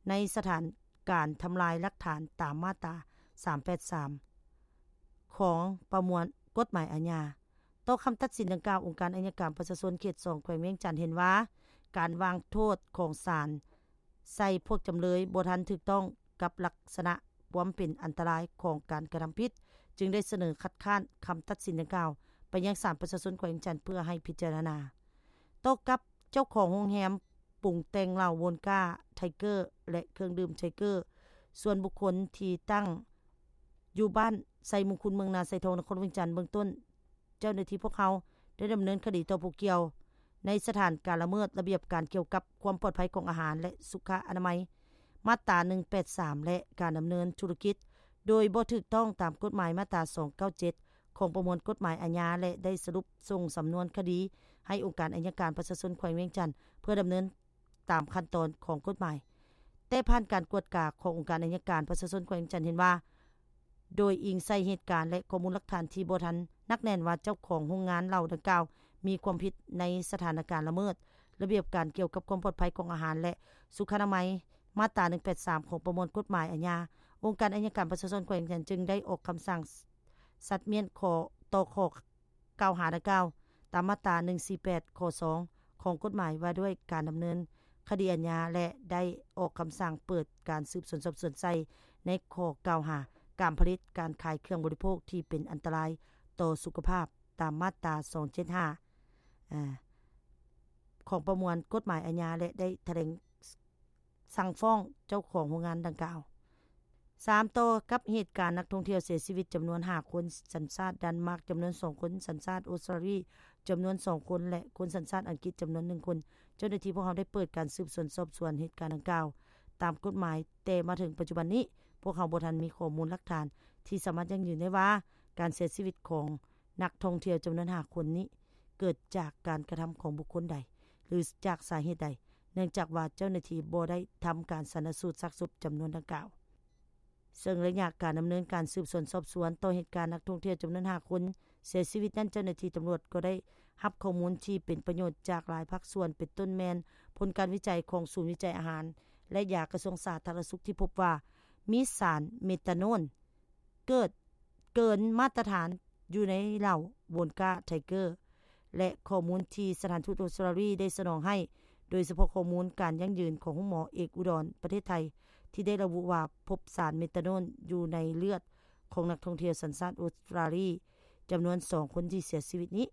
ໃນສະຖານການທຳລາຍຫຼັກຖານຕາມມາດຕາສາມແປດສາມ ຂອງປະມວນກົດໝາຍອາຍາ. ຕໍ່ຄຳຕັດສິນດັ່ງກ່າວ, ອົງການໄອຍະການປະຊາຊົນເຂດສອງ ແຂວງວຽງຈັນ ເຫັນວ່າ ການວາງໂທດຂອງສານໃສ່ພວກຈຳເລີຍບໍ່ທັນຖືກຕ້ອງກັບລັກສະນະຄວາມເປັນອັນຕະລາຍຂອງການກະທຳຜິດ, ຈຶ່ງໄດ້ສະເໜີຄັດຄ້ານຄຳຕັດສິນດັ່ງກ່າວໄປຍັງສານປະຊາຊົນແຂວງວຽງຈັນ ເພື່ອໃຫ້ພິຈາລະນາ. ຕໍ່ກັບເຈົ້າຂອງໂຮງແຮມປຸງແຕ່ງເຫຼົ້າໂວນກາ ໄທເກີ ແລະ ເຄື່ອງດື່ມໄທເກີ ສ່ວນບຸກຄົນທີ່ຕັ້ງຢູ່ບ້ານໄຊມຸງຄຸນ ເມືອງນາໄຊທອງ ນະຄອນຫຼວງວຽງຈັນ, ເບື້ອງຕົ້ນ ເຈົ້າໜ້າທີ່ພວກເຮົາໄດ້ດຳເນີນຄະດີຕໍ່ຜູ້ກ່ຽວໃນສະຖານການລະເມີດລະບຽບການກ່ຽວກັບຄວາມປອດໄພຂອງອາຫານ ແລະ ສຸຂະອະນາໄມ ມາດຕາໜຶ່ງແປດສາມ ແລະ ການດຳເນີນທຸລະກິດໂດຍບໍ່ຖືກຕ້ອງຕາມກົດໝາຍ ມາດຕາສອງເກົ້າເຈັດ ຂອງປະມວນກົດໝາຍອາຍາ ແລະ ໄດ້ສະຫຼຸບສົ່ງສຳນວນຄະດີໃຫ້ອົງການໄອຍະການປະຊາຊົນແຂວງວຽງຈັນ ເພື່ອດຳເນີນຕາມຂັ້ນຕອນຂອງກົດໝາຍ. ແຕ່ຜ່ານການກວດກາຂອງອົງການໄອຍະການປະຊາຊົນແຂວງວຽງຈັນເຫັນວ່າ ໂດຍອີງໃສ່ເຫດການ ແລະ ຂໍ້ມູນຫຼັກຖານທີ່ບໍ່ທັນໜັກແໜ້ນວ່າເຈົ້າຂອງໂຮງງານເຫຼົ້າດັ່ງກ່າວມີຄວາມຜິດໃນສະຖານະການລະເມີດລະບຽບການກ່ຽວກັບຄວາມປອດໄພຂອງອາຫານ ແລະ ສຸຂະອະນາໄມ ມາດຕາໜຶ່ງແປດສາມ ຂອງປະມວນກົດໝາຍອາຍາ, ອົງການໄອຍະການປະຊາຊົນແຂວງວຽງຈັນຈຶ່ງໄດ້ອອກຄຳສັ່ງສັດມ້ຽນຂໍ້ ຕໍ່ຂໍ້ ກ່າວຫາດັ່ງກ່າວ ຕາມມາດຕາໜຶ່ງສີ່ແປດ ຂໍ້ສອງ ຂອງກົດໝາຍວ່າດ້ວຍການດຳເນີນຄະດີອາຍາ ແລະ ໄດ້ອອກຄຳສັ່ງເປີດການສືບສວນສອບສວນໃສ່ໃນຂໍ້ກ່າວຫາ ການຜະລິດ, ການຂາຍເຄື່ອງບໍລິໂພກທີ່ເປັນອັນຕະລາຍຕໍ່ສຸຂະພາບ ຕາມມາດຕາສອງເຈັດຫ້າ ອາ ຂອງປະມວນກົດໝາຍອາຍາ ແລະ ໄດ້ຖະແຫຼງ ສັ່ງຟ້ອງເຈົ້າຂອງໂຮງງານດັ່ງກ່າວ. ສາມ ຕໍ່ກັບເຫດການນັກທ່ອງທ່ຽວເສຍຊີວິດຈຳນວນຫ້າຄົນ ສັນຊາດດັນມາກ, ຈຳນວນສອງຄົນ ສັນຊາດອົດສະຕຣາລີ, ຈຳນວນສອງຄົນ ແລະ ຄົນສັນຊາດອັງກິດ ຈຳນວນໜຶ່ງຄົນ, ເຈົ້າໜ້າທີ່ພວກເຮົາໄດ້ເປີດການສືບສວນສອບສວນເຫດການດັ່ງກ່າວຕາມກົດໝາຍ, ແຕ່ມາເຖິງປັດຈຸບັນນີ້ ພວກເຮົາບໍ່ທັນມີຂໍ້ມູນຫຼັກຖານທີ່ສາມາດຢັ້ງຢືນໄດ້ວ່າ ການເສຍຊີວິດຂອງນັກທ່ອງທ່ຽວຈຳນວນຫ້າຄົນນີ້ ເກີດຈາກການກະທຳຂອງບຸກຄົນໃດ. ຫຼື ຈາກສາເຫດໃດ, ເນື່ອງຈາກວ່າເຈົ້າໜ້າທີ່ບໍ່ໄດ້ທຳການຊັນນະສູດຊາກສົບຈຳນວນດັ່ງກ່າວ. ເຊິ່ງໄລຍະການດຳເນີນການສືບສວນສອບສວນຕໍ່ເຫດການນັກທ່ອງທ່ຽວຈຳນວນຫ້າຄົນເສຍຊີວິດນັ້ນ, ເຈົ້າໜ້າທີ່ຕຳຫຼວດກໍໄດ້ຮັບຂໍ້ມູນທີ່ເປັນປະໂຫຍດຈາກຫຼາຍພາກສ່ວນ, ເປັນຕົ້ນແມ່ນຜົນການວິໄຈຂອງສູນວິໄຈອາຫານ ແລະ ຢາກະຊວງສາທາລະນະສຸກ ທີ່ພົບວ່າມີສານເມຕາໂນນ ເກີດເກີນມາດຕະຖານຢູ່ໃນເຫຼົ້າໂວນກາໄທເກີ ແລະ ຂໍ້ມູນທີ່ສະຖານທູດອົດສະຕຣາລີໄດ້ສະໜອງໃຫ້, ໂດຍສະເພາະຂໍ້ມູນການຢັ້ງຢືນຂອງໂຮງໝໍເອກອຸດອນປະເທດໄທ ທີ່ໄດ້ລະບຸວ່າພົບສານເມຕາໂນນຢູ່ໃນເລືອດຂອງນັກທ່ອງທ່ຽວສັນຊາດອົດສະຕຣາລີຈຳນວນສອງຄົນທີ່ເສຍຊີວິດນີ້.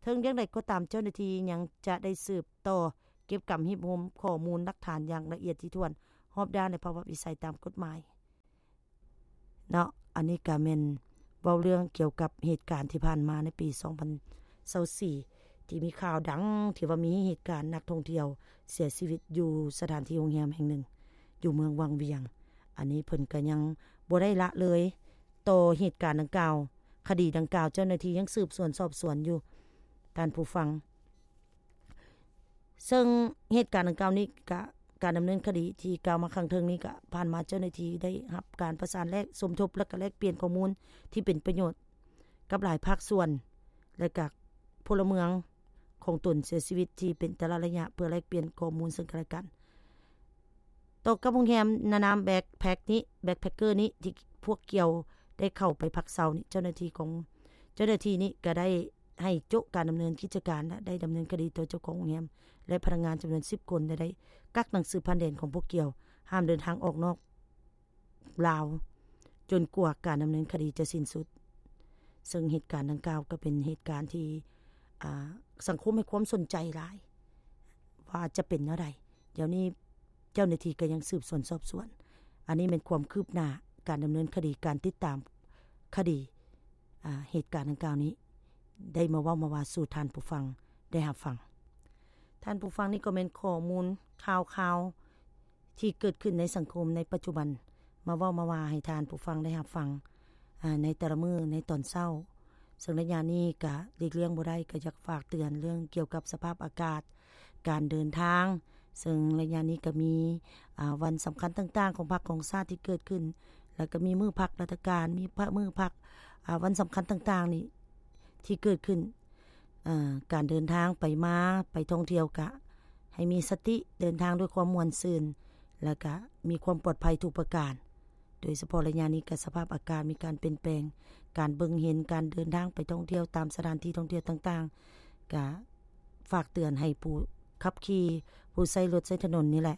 ເຖິງຢ່າງໃດກໍຕາມ, ເຈົ້າໜ້າທີ່ຍັງຈະໄດ້ສືບຕໍ່ເກັບກຳຮວບຮວມຂໍ້ມູນຫຼັກຖານຢ່າງລະອຽດຖີ່ຖ້ວນ ຮອບດ້ານ ແລະ ພາວະວິໄສຕາມກົດໝາຍ. ເນາະ ອັນນີ້ກະແມ່ນເວົ້າເລື່ອງກ່ຽວກັບເຫດການທີ່ຜ່ານມາໃນປີສອງພັນຊາວສີ່ ທີ່ມີຂ່າວດັງທີ່ວ່າມີເຫດການນັກທ່ອງທ່ຽວເສຍຊີວິດຢູ່ສະຖານທີ່ໂຮງແຮມແຫ່ງໜຶ່ງຢູ່ເມືອງວັງວຽງ. ອັນນີ້ເພິ່ນກະຍັງບໍ່ໄດ້ລະເລີຍຕໍ່ເຫດການດັ່ງກ່າວ, ຄະດີດັ່ງກ່າວ ເຈົ້າໜ້າທີ່ຍັງສືບສວນສອບສວນຢູ່ ທ່ານຜູ້ຟັງ. ເຊິ່ງເຫດການດັ່ງກ່າວນີ້ກະ ການດຳເນີນຄະດີທີ່ກ່າວມາຂ້າງເທິງນີ້ກະ ຜ່ານມາເຈົ້າໜ້າທີ່ໄດ້ຮັບການປະສານແລກສົມທົບ ແລະ ກະແລກປ່ຽນຂໍ້ມູນທີ່ເປັນປະໂຫຍດກັບຫຼາຍພາກສ່ວນ ແລະ ກະພົນລະເມືອງຂອງຕົນເສຍຊີວິດທີ່ເປັນແຕ່ລະໄລຍະ ເພື່ອແລກປ່ຽນຂໍ້ມູນເຊິ່ງກັນແລະກັນ. ຕໍ່ກັບໂຮງແຮມນານາມແບັກແພັກນີ້ ແບັກແພັກເກີນີ້ ທີ່ພວກກ່ຽວໄດ້ເຂົ້າໄປພັກເຊົານີ້ ເຈົ້າໜ້າທີ່ຂອງ ເຈົ້າໜ້າທີ່ນີ້ກະໄດ້ ໃຫ້ໂຈະການດຳເນີນກິດຈະການ ແລະ ໄດ້ດຳເນີນຄະດີຕໍ່ເຈົ້າຂອງໂຮງແຮມ ແລະ ພະນັກງານຈຳນວນສິບຄົນ ແລະ ໄດ້ກັກໜັງສືຜ່ານແດນຂອງພວກກ່ຽວ ຫ້າມເດີນທາງອອກນອກລາວ ຈົນກວ່າການດຳເນີນຄະດີຈະສິ້ນສຸດ. ເຊິ່ງເຫດການດັ່ງກ່າວກໍເປັນເຫດການທີ່ ອາ ສັງຄົມໃຫ້ຄວາມສົນໃຈຫຼາຍ ວ່າຈະເປັນແນວໃດ. ດຽວນີ້ເຈົ້າໜ້າທີ່ກໍຍັງສືບສວນສອບສວນ. ອັນນີ້ແມ່ນຄວາມຄືບໜ້າການດຳເນີນຄະດີ, ການຕິດຕາມຄະດີ ອາ ເຫດການດັ່ງກ່າວນີ້ ໄດ້ມາເວົ້າມາວ່າສູ່ທ່ານຜູ້ຟັງໄດ້ຮັບຟັງ. ທ່ານຜູ້ຟັງ, ນີ້ກໍແມ່ນຂໍ້ມູນຂ່າວຄາວທີ່ເກີດຂຶ້ນໃນສັງຄົມໃນປັດຈຸບັນ ມາເວົ້າມາວ່າໃຫ້ທ່ານຜູ້ຟັງໄດ້ຮັບຟັງ ອາ ໃນແຕ່ລະມື້ໃນຕອນເຊົ້າ. ເຊິ່ງໄລຍະນີ້ກະຫຼີກລ່ຽງບໍ່ໄດ້, ກະຢາກຝາກເຕືອນເລື່ອງກ່ຽວກັບສະພາບອາກາດ, ການເດີນທາງ. ເຊິ່ງໄລຍະນີ້ກະມີ ອາ ວັນສຳຄັນຕ່າງໆຂອງພັກຂອງຊາດທີ່ເກີດຂຶ້ນ, ແລ້ວກະມີມື້ພັກລາຊະການ, ມີພະ ມື້ພັກ ອາ ວັນສຳຄັນຕ່າງໆນີ້ທີ່ເກີດຂຶ້ນ. ອາ ການເດີນທາງໄປມາ, ໄປທ່ອງທ່ຽວ ກະໃຫ້ມີສະຕິ, ເດີນທາງດ້ວຍຄວາມມ່ວນຊື່ນ ແລ້ວກະມີຄວາມປອດໄພທຸກປະການ. ໂດຍສະເພາະໄລຍະນີ້ກະສະພາບອາກາດມີການປ່ຽນແປງ, ການເບິ່ງເຫັນ, ການເດີນທາງໄປທ່ອງທ່ຽວຕາມສະຖານທີ່ທ່ອງທ່ຽວຕ່າງໆ ກະຝາກເຕືອນໃຫ້ຜູ້ຂັບຂີ່, ຜູ້ໃຊ້ລົດໃຊ້ຖະໜົນນີ້ແຫຼະ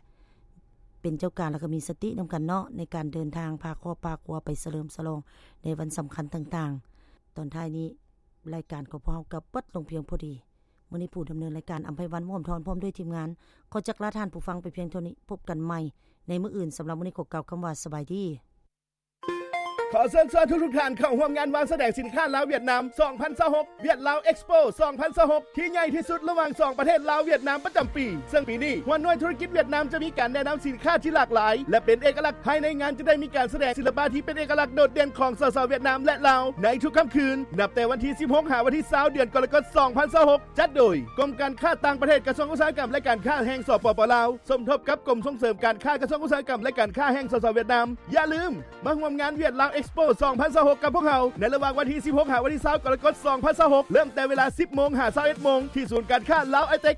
ເປັນເຈົ້າການ ແລ້ວກະມີສະຕິນຳກັນເນາະ ໃນການເດີນທາງ ພາຄອບພາຄົວໄປສະເຫຼີມສະຫຼອງໃນວັນສຳຄັນຕ່າງໆ. ຕອນທ້າຍນີ້ ລາຍການຂອງພວກເຮົາກໍເບິດລົງພຽງພໍດີ. ມື້ນີ້ຜູ້ດຳເນີນລາຍການ ອຳໄພວັນ ມ່ວນທອນ ພ້ອມດ້ວຍທີມງານ ຂໍຈັກລາທ່ານຜູ້ຟັງໄປພຽງເທົ່ານີ້. ພົບກັນໃໝ່ໃນມື້ອື່ນ. ສຳລັບມື້ນີ້ຂໍກ່າວຄຳວ່າ ສະບາຍດີ. ຂໍເຊີນຊວນທຸກໆທ່ານເຂົ້າຮ່ວມງານວາງສະແດງສິນຄ້າລາວ-ຫວຽດນາມ ສອງພັນຊາວຫົກ ຫວຽດລາວເອັກສະໂປ ສອງພັນຊາວຫົກ ທີ່ໃຫຍ່ທີ່ສຸດລະຫວ່າງສອງປະເທດລາວ-ຫວຽດນາມປະຈຳປີ. ເຊິ່ງປີນີ້ ຫົວໜ່ວຍທຸລະກິດຫວຽດນາມຈະມີການແນະນຳສິນຄ້າທີ່ຫຼາກຫຼາຍ ແລະ ເປັນເອກະລັກ. ພາຍໃນງານຈະໄດ້ມີການສະແດງສິລະປະທີ່ເປັນເອກະລັກໂດດເດັ່ນຂອງສາວໆຫວຽດນາມ ແລະ ລາວ ໃນທຸກຄ່ຳຄືນ ນັບແຕ່ວັນທີສິບຫົກ ຫາວັນທີຊາວ ເດືອນກໍລະກົດ ສອງພັນຊາວຫົກ. ຈັດໂດຍ ກົມການຄ້າຕ່າງປະເທດ ກະຊວງອຸດສາຫະກຳ ແລະ ການຄ້າແຫ່ງ ສປປ ລາວ ສົມທົບກັບກົມສົ່ງເສີມການຄ້າ ກະຊວງອຸດສາຫະກຳ ແລະ ການຄ້າແຫ່ງສປປ ຫວຽດນາມ. ຢ່າລືມ ມາຮ່ວມງານຫວຽດລາວເອັກສະໂປ ສອງພັນຊາວຫົກ ກັບພວກເຮົາ ໃນລະຫວ່າງວັນທີສິບຫົກ ຫາວັນທີຊາວ ກໍລະກົດ ສອງພັນຊາວຫົກ ເລີ່ມແຕ່ເວລາ ສິບໂມງ ຫາ ຊາວເອັດໂມງ ທີ່ສູນການຄ້າລາວໄອເຕັກ.